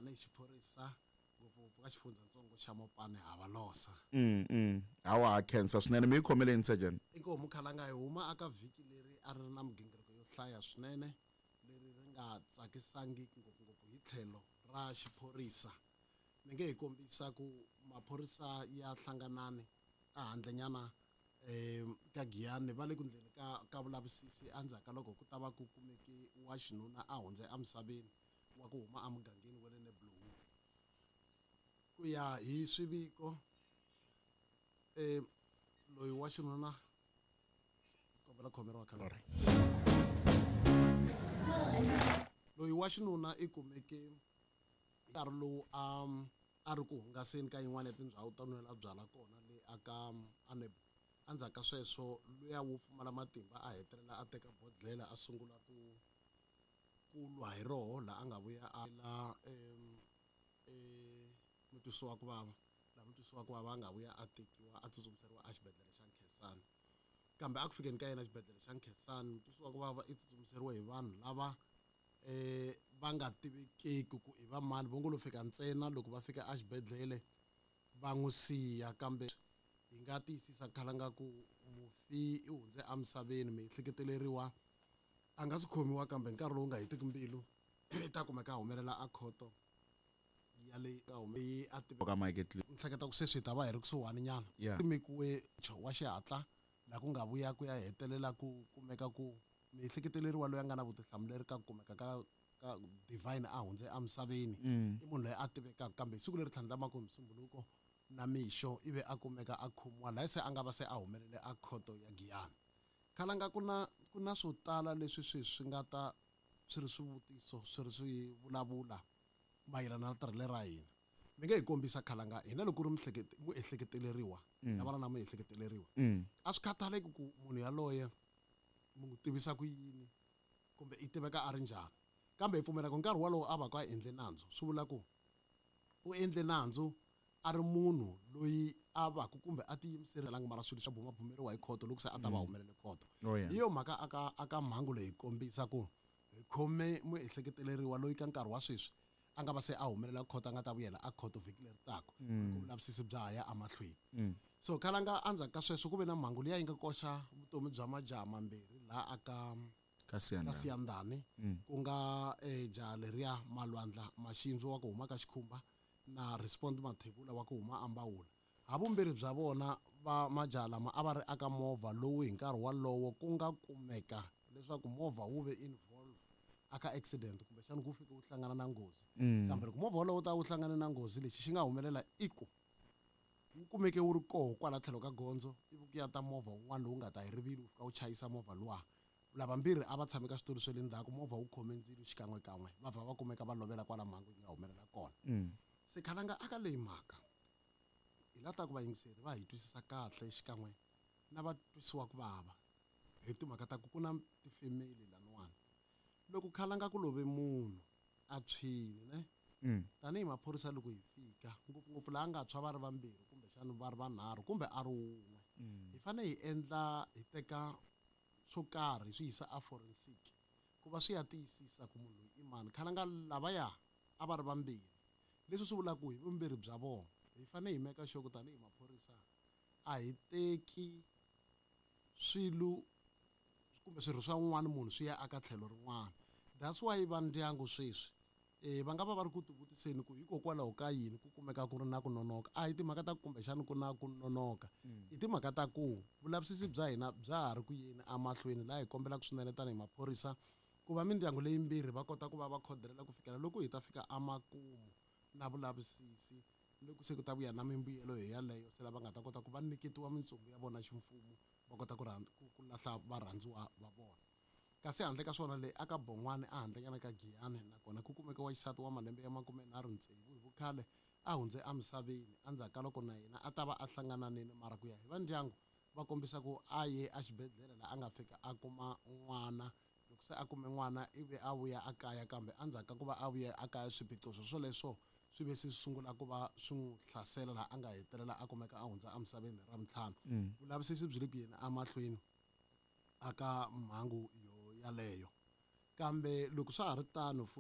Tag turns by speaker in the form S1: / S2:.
S1: Tanihi xiphorisa, ngopfungopfu ka xifundzatsongo xa Mopani, hava losa.
S2: Hawa, ha khensa swinene. Mi yi khomeleni, Sergeant.
S1: Inkomu, Khalanga. Hi huma aka vhiki leri a ri ri na migingiriko yo hlaya swinene, leri ri nga tsakisangiki ngopfungopfu hi tlhelo ra xiphorisa. Mi nge hi kombisa ku maphorisa ya hlanganani a handlenyana ka Giyani va le ku ndleni ka vulavisisi endzhaku ka loko ku ta va ku kumeke wa xinuna a hundze emisaveni wa ku huma emugangeni wa le Neblohoek. Ku ya hi swiviko, loyi wa xinuna, kombela khomeriwa khale, loyi wa xinuna i kumeke nkarhi lowu a ri ku hungaseni ka yin'wana ya tindhawu to nwela byala kona le aka aneb. Endzhaku ka sweswo luya wo pfumala matimba a hetelela a teka bodlela a sungula ku lwa hi roho, laha a nga vuya a la mutwisiwa ku vava, laha mutwisiwa ku vava a nga vuya a tekiwa a tsutsumiseriwa exibedhlele xa Nkhensani. Kambe a ku fikeni ka yena xibedhlele xa Nkhensani, mutwisiwa ku vava i tsutsumiseriwe hi vanhu lava va nga tivekeki ku i va mani, vo ngo lo fika ntsena. Loko va fika exibedhlele va n'wi siya, kambe hi nga tiyisisa, Khalanga, ku mufi i hundze emisaveni. Miehleketeleriwa a nga swi khomiwa, kambe nkarhi lowu nga hetiki mbilu i ta kumeka a humelela a khoto ya le ka yi a tive
S2: ka Mike.
S1: Ni hleketa ku sweswi hi ta va hi ri kusuhani nyana. Simekiwe wa xihatla laha ku nga vuya ku ya hetelela ku kumeka ku miehleketeleriwa loyi a nga na vutihlamuleri ka ku kumeka ka Divine a hundze emisaveni i munhu loyi a tivekaka. Kambe hi siku leri tlhandlamaka, Musumbuluko na mixo, ivi a kumeka a khomiwa laha se a nga va se a humelele a khoto ya Giyani. Khalanga, ku na swo tala leswi sweswi swi nga ta swi ri swivutiso, swi ri swi vulavula mayelana na tirhele ra hina. Mi nge hi kombisa, Khalanga, hina loko ku ri muehleketeleriwa na vana na muehleketeleriwa, a swi khathaleki ku munhu yaloye mi n'wi tivisa ku yini kumbe i tiveka a ri njhani, kambe hi pfumela ku nkarhi wolowo a va ku a endle nandzu, swi vula ku u endle nandzu a ri munhu loyi a va ku kumbe a tiyimiselanga, mara swilo swa bumabumeriwa hi khoto loko se a ta va humelele khoto. Hi yo mhaka aka mhangu leyi kombisa ku hi khome muehleketeleriwa loyi ka nkarhi wa sweswi a nga va se a humelela khoto, a nga ta vuyela a khoto vhiki leri taka loko vulavisisi bya ha ya emahlweni. So Khalanga, endzhaku ka sweswo ku ve na mhangu liya yi nga koxa vutomi bya majaha mambirhi laha aka
S2: ka
S1: ka
S2: Siyandhani.
S1: Siyandhani, ku nga jaha leriya Malwandla Maxindzo wa ku huma ka Xikhumba na Respond Mathebula wa ku huma Ambawula. Havumbirhi bya vona va majaha lama a va ri aka movha lowu hi nkarhi walowo ku nga kumeka leswaku movha wu ve involve aka accident, kumbexana ku fike wu hlangana na nghozi. Kambe loko movha wolowo ta wu hlangane na nghozi, lexi xi nga humelela i ku wu kumeke wu ri koho kwala tlhelo ka gondzo, ivi ku ya ta movha wun'wana lowu nga ta hi rivilo, wu fika wu chayisa movha luwa. Lavambirhi a va tshame ka switulu swa le ndzhaku, movha wu khome ndzilo xikan'wekan'we, va vha va kumeka va lovela kwala mhangu yi nga humelela kona. Se Khalanga, aka leyi mhaka hi la ta ku vayingiseri va hi twisisa kahle xikan'we na va twisiwa ku vava hi timhaka ta ku ku na tifemeli laniwani. Loko, Khalanga, ku love munhu a tshwini ne, tanihi maphorisa loko hi fika, ngopfungopfu laha nga tshwa va ri vambirhi kumbexana va ri vanharhu kumbe a ri wun'we, hi fanele hi endla, hi teka swo karhi hi swi yisa a forensic ku va swi ya tiyisisa ku munhu loyi i mani. Khalanga, lavaya a va ri vambirhi, leswi swi vulaka ku hi vumbirhi bya vona hi fanele hi meka sure ku tanihi maphorisa a hi teki swilo kumbe swirho swa un'wana munhu swi ya aka tlhelo rin'wana. That's why va ndyangu sweswi va nga va va ri ku tivutiseni ku hikokwalaho ka yini ku kumeka ku ri na ku nonoka. A hi timhaka ta ku kumbexani ku na ku nonoka, i timhaka ta ku vulavisisi bya hina bya ha ri ku yeni emahlweni, laha hi kombelaka swinene tanihi maphorisa ku va mindyangu leyimbirhi va kota ku va va khodelela ku fikela loko hi ta fika emakumu na vulavisisi, loko se ku ta vuya na mimbuyelo hi yaleyo, se lava nga ta kota ku va nyiketiwa mintsumbu ya vona ximfumo, va kota ku lahla varhandziwa va vona. Kasi handle ka swona, leyi aka Bon'wani ehandlenyana ka Giyani, nakona ku kumeka wa xisati wa malembe ya 36 hi vukhale a hundze emisaveni endzhaku ka loko na yena a ta va a hlangananini, mara ku ya hi va ndyangu va kombisa ku a ye exibedhlele laha a nga fika a kuma n'wana. Loko se a kume n'wana, ivi a vuya a kaya, kambe endzhaku ka ku va a vuya a kaya, swiphiqo swo swoleswo swi ve se swi sungula ku va swi n'wi hlasela, laha a nga hetelela a kumeka a hundza emisaveni hi Ravuntlhanu. Vulavisisi byi le ku yeni emahlweni aka mhangu yo yaleyo, kambe loko swa ha ri tano.